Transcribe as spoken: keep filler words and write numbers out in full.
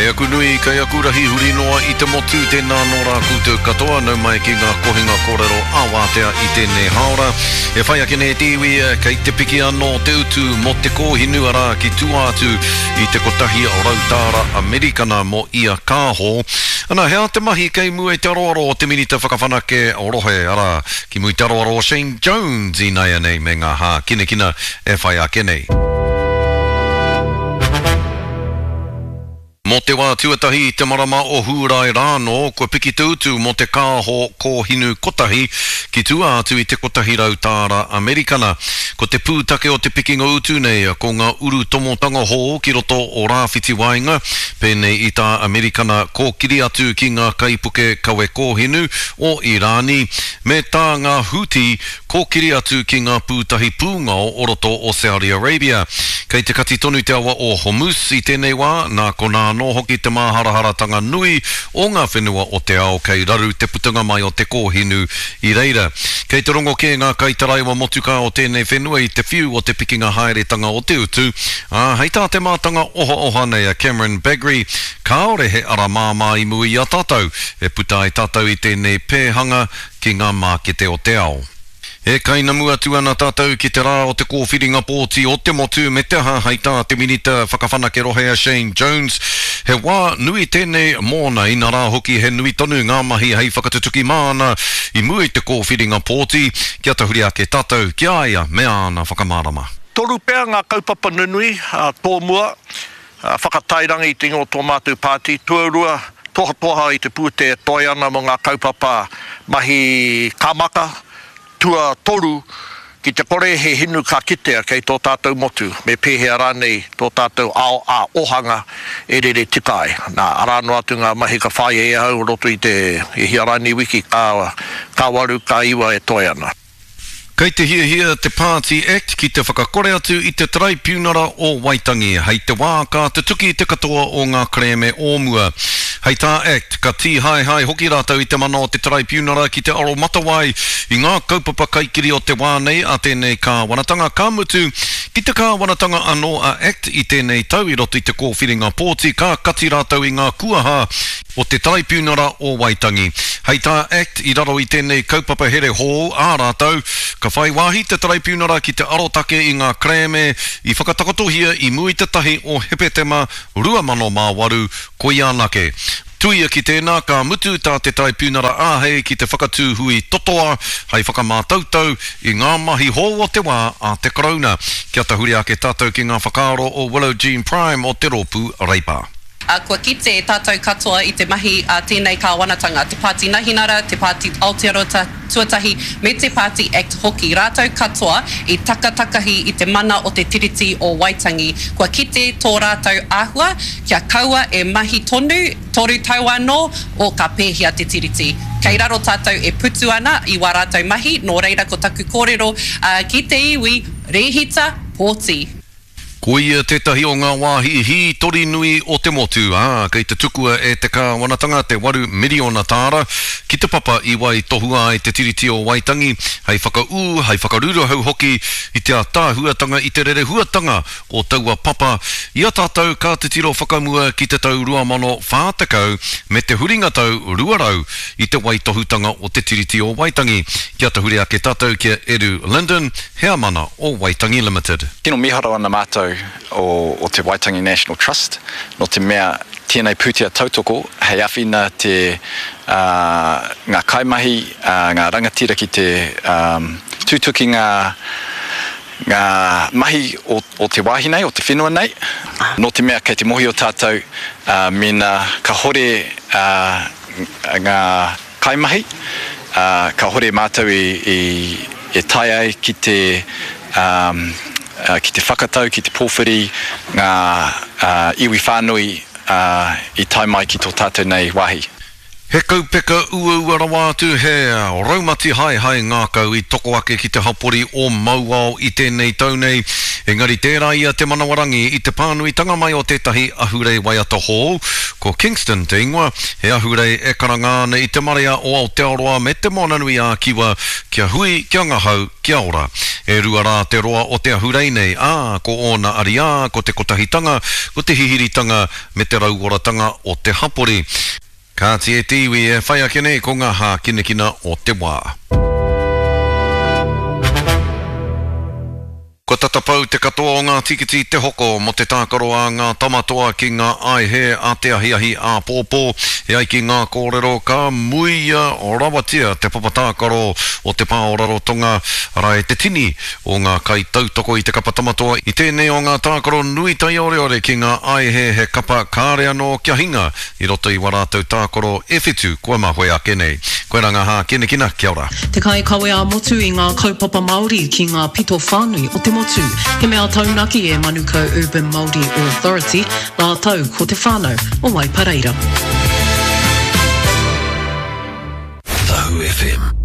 Kei aku nui, kei aku rahi huri noa i te motu, tēnā nō rā koutou katoa, nau mai ki ngā kohinga kōrero ā-wātea i tēnei hāora. E whai ake nei te iwi, kei te piki anō te utu mō te kōhinu, arā ki tua atu i te kotahi rau tāra Amerikana mō ia kāho. Ana, he aha te mahi kei mua i te aroaro o te Minita Whakawhanake Rohe, arā, ki mua i te aroaro o Shane Jones ināianei me ngā hākinakina e whai ake nei. Mō te wā tuatahi i te marama o Hūrae rānō, kua piki te utu mō te kāho kōhinu kotahi ki tua atu i te kotahi rau tāra Amerikana. Ko te pūtake o te pikinga utu nei ko ngā urutomotanga hou ki roto o Rāwhiti Waenga, pēnei i tā Amerikana kōkiri atu ki ngā kaipuke kawe kōhinu o Irāni, me tā ngā Houthi kōkiri atu ki ngā pūtahi pūngao o roto o Saudi Arabia. Kei te kati tonu te awa o Hormuz i tēnei wā, nā konā anō hoki te māharaharatanga nui o ngā whenua o te ao kei raru te putanga mai o te kōhinu i reira. Kei te rongo kē ngā kaitaraiwa motukā o tēnei whenua i te whiu o te pikinga haeretanga o te utu, ā, hei tā te mātanga ohaoha nei a Cameron Bagrie, kāore he ara māmā i mua i a tātou e puta ai tātou i tēnei pēhanga ki ngā mākete o te ao. E kainamu atu ana tātou ki te rā o te kōwhiringa pōti o te motu me te aha hei tā te Minita Whakawhanake Rohe a Shane Jones, he wā nui tēnei mōna, inarā hoki he nui tonu ngā mahi hei whakatutuki māna i mua i te kōwhiringa pōti, kia tahuri ake tātou ki a ia me āna whakamārama. Toru pea ngā kaupapa nunui tōmua, whakatairanga i te ingoa o tō mātou pāti, tuarua, tohatoha i te pūtea e toe ana mō ngā kaupapa mahi kāmaka, tuatoru, ki te kore he hinu ka kitea kei tō tātou motu, me pēhea rānei tō tātou ao ā-ohanga e rere tika ai. Nā, arā noa atu ngā mahi ka whāia e ahau o roto i te e hia rānei wiki ka, ka waru, ka iwa e toe ana. Kei te hiahia te Pāti Act ki te whakakore atu i te Taraipiunara o Waitangi hei te wā ka tutuki te katoa o ngā kerēme o mua. Hei tā Act, ka tīhaehae hoki rātou i te mana o te Taraipiunara ki te aromatawai i ngā kaupapa kaikiri o te wā nei a tēnei kāwanatanga, ka mutu, ki te kāwanatanga anō a Act i tēnei tau i roto i te kōwhiringa pōti ka kati rātou i ngā kuaha o te Taraipiunara o Waitangi. Hei tā Act, i raro i tēnei kaupapa here hou ā rātou, ka whai wāhi te Taraipiunara ki te arotake i ngā kerēme i whakatakotohia i mua i te tahi o Hepetema rua mano mā waru, koia anake. Tuia ki tēnā, ka mutu tā te Taraipiunara āhei ki te whakatū hui totoa hei whakamātautau i ngā mahi hou o te wā a te Karauna. Kia tahuri ake tātou ki ngā whakaaro o Willow Jean Prime o te Rōpū Reipa. Ā, kua kite tātou katoa i te mahi a tēnei kāwanatanga, te Pāti Nahinara, te Pāti Aotearoa Tuatahi me te Pāti Act hoki, rātou katoa i takatakahi i te mana o te Tiriti o Waitangi. Kua kite tō rātou āhua kia kaua e mahi tonu, toru tau anō, o ka pēhea te Tiriti. Kei raro tātou e putu ana i wā rātou mahi, nō reira ko taku kōrero ki te iwi, rēhita, pōti. Koia tētahi o ngā wāhi hītori nui o te motu, ā, kei te tukua e te kāwanatanga te waru miriona tāra ki te papa i waitohua ai te Tiriti o Waitangi hei whakaū, hei whakaruruhau hoki i te ātaahuatanga i te rerehuatanga o taua papa i a tātou ka titiro whakamua ki te tau rua mano whā tekau me te huringa tau rua rau i te waitohutanga o te Tiriti o Waitangi. Kia tahuri ake tātou ki a Eru Linden, heamana o Waitangi Limited. Tino mīharo ana mātou o, o te Waitangi National Trust, nō te mea tēnei pūtea tautoko hei āwhina te, uh, ngā kaimahi, uh, ngā rangatira ki te um, tutuki ngā, ngā mahi o, o te wāhi nei, o te whenua nei. Nō te mea kei te mōhio tātou, uh, mēnā ka hore uh, ngā kaimahi, uh, ka hore mātou i, i, e tae ai ki te, um, uh, ki te whakatau, ki te pōwhiri ngā uh, iwi whānui uh, i tae mai ki tō tātou nei wāhi. He kaupeka uaua rawa atu, he raumati haehae ngākau i toko ake ki te hapori o Mauao i tēnei tau nei, engari tērā ia te manawarangi i te pānuitanga mai o tētahi ahurei waiata hou, ko Kingston te ingoa, he ahurei e karanga ana i te marea o Aotearoa me Te Moananui-a-Kiwa kia hui, kia ngahau, kia ora. E rua rā te roa o te ahurei nei, ā, ko ōna ariā, ko te kotahitanga, ko te hihiritanga me te rauoratanga o te hapori. Kāti e te iwi e whai ake nei ko ngā hākinakina o te wā. Kua tata pau te katoa o ngā tīkiti te hoko mō te tākaro a ngā Tama Toa ki ngā aihe a te ahiahi āpōpō. E ai ki ngā kōrero ka muia rawatia te papa tākaro o te pā o Rarotonga, arā e te tini o ngā kaitautoko i te kapa Tama Toa i tēnei o ngā tākaro nui taioreore ki ngā aihe he kapa kāre anō kia hinga i roto i wā rātou tākaro e whitu kua mahue ake nei. Koirā ngā hākinakina, kia ora. Te kaikawe ā-motu i ngā kaupapa Māori ki ngā pito whānui o te motu. He mea taunaki e Manukau Urban Māori Authority rātou ko te whānau o Waipareira. Tahu F M.